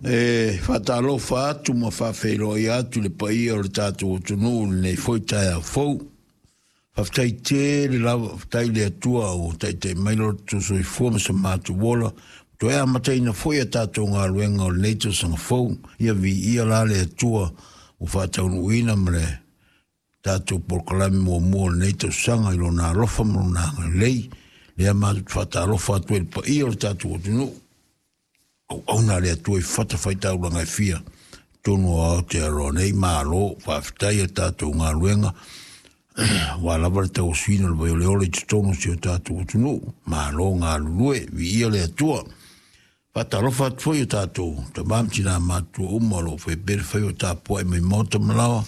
E faatalofa atu ma faafeiloai atu i le paia o le tatou atunuu i lenei foi taeao fou. Faafetai tele lava, faafetai i le Atua ua taitai mai lo tatou soifua ma so matou ola, toe amataina foi a tatou galuega o lenei tausaga fou. Ia viia la le Atua ua faataunuuina ma le tatou polokalame muamua o lenei tausaga i lona alofa ma lona agalelei. Lea matou te faatalofa atu ai i le paia o le tatou atunuu, auauna a le Atua i fatafaitaulaga e fia totonu o Aotearoa nei. Malo faafetai a tatou galuega aua lava le tauasuina o le vaioleole i totonu o si o tatou atunuu. Malo galulue, viia le Atua. Faatalofa atu foi i o tatou tama ma tina matutua uma o lo o faia pea le faiva tapuai mai maota ma laoa.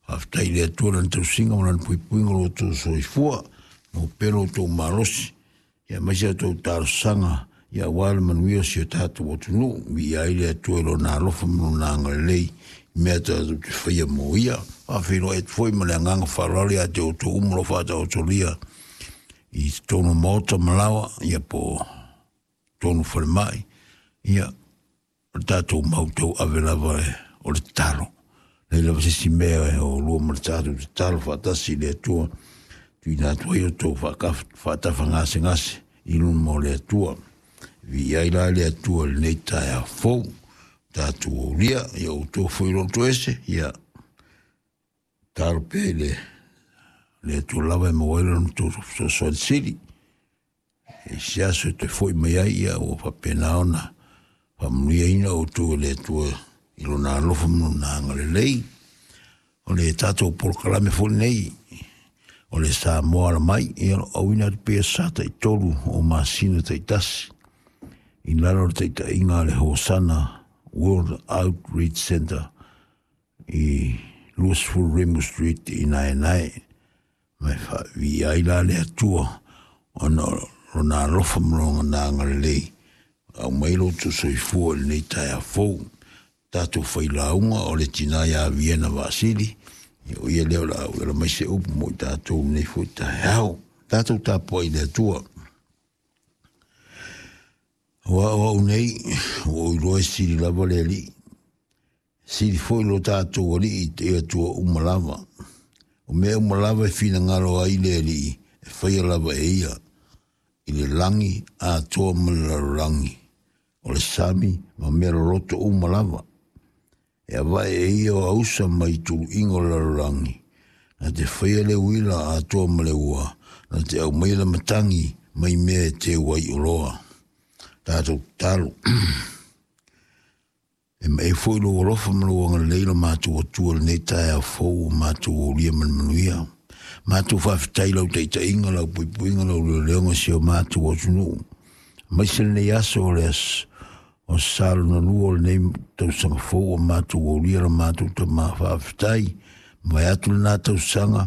Faafetai i le Atua lana tausiga ma lana puipuiga o lo outou soifua, maua pea lo outou malosi, ia aemaise a outou talosaga, ia aua le manuia o si o tatou atunuu. Viia ai le Atua i lona alofa ma lona agalelei i mea tatou te faia mo ia. Faafeiloai atu foi ma le agaga faaaloalo ia te outou uma o lo o faataotolia i totonu o maota ma laoa, ia po o totonu o falemai, ia o le tatou mau tauave lava o le tatalo. Leai lava se isi mea e o lua ma le tatou tatalo faatasi i le Atua, tuuina atu ai outou faatafagasegase i luma o le Atua. Viia ai la le Atua i lenei taeao fou, tatou aulia, ia outou foi loto ese, ia tatalo pea i le Atua lava e maua ai lona tou fesoasoani sili. I se aso e toe foi mai ai, ia ua faapena ona faamanuiaina outou e le Atua i lona alofa ma lona agalelei. O le tatou polokalame foi lenei o le Samoa Ala Mai, ia o lo o auina atu pea sa tai-3 o masina taitasi i lalo o le taitaiga a le Hosana World Outreach Center i 20 Rimu Street i Naenae. Ma e faaviia ai la le Atua ona o lona alofa ma lona agalelei, aumai lo outou soifua i lenei taeao fou. Tatou failauga o le tina ia Viena Vaasili, o ia lea o le a uela mai se upu mo i tatou i lenei foi taeao. Tatou tapuai i le Atua. Aua o au nei, ua ou iloa e sili lava le Alii. Sili foi lo tatou Alii i te Atua uma lava. O mea uma lava e finagalo ai le Alii, e faia lava e ia, i le lagi atoa ma le lalolagi, o le sami ma mea loloto uma lava. E avae e ia o ausa mai tuluiga o le lalolagi, na te faia le uila atoa ma le ua, na te aumaia le matagi mai mea e teu ai oloa. Tatou tatalo. E mae foi lou alofa ma lou agalelei lo matou Atua i lenei taeao fou ua matou aulia ma le manuia. Matou faafetai i lau taitaiga, lau puipuiga, lau leoleoga i si o matou atunuu. Aemaise lenei aso o le aso o sa lona lua o lenei tausaga fou ua matou aulia la matou tama faafetai. Vae atu lena tausaga.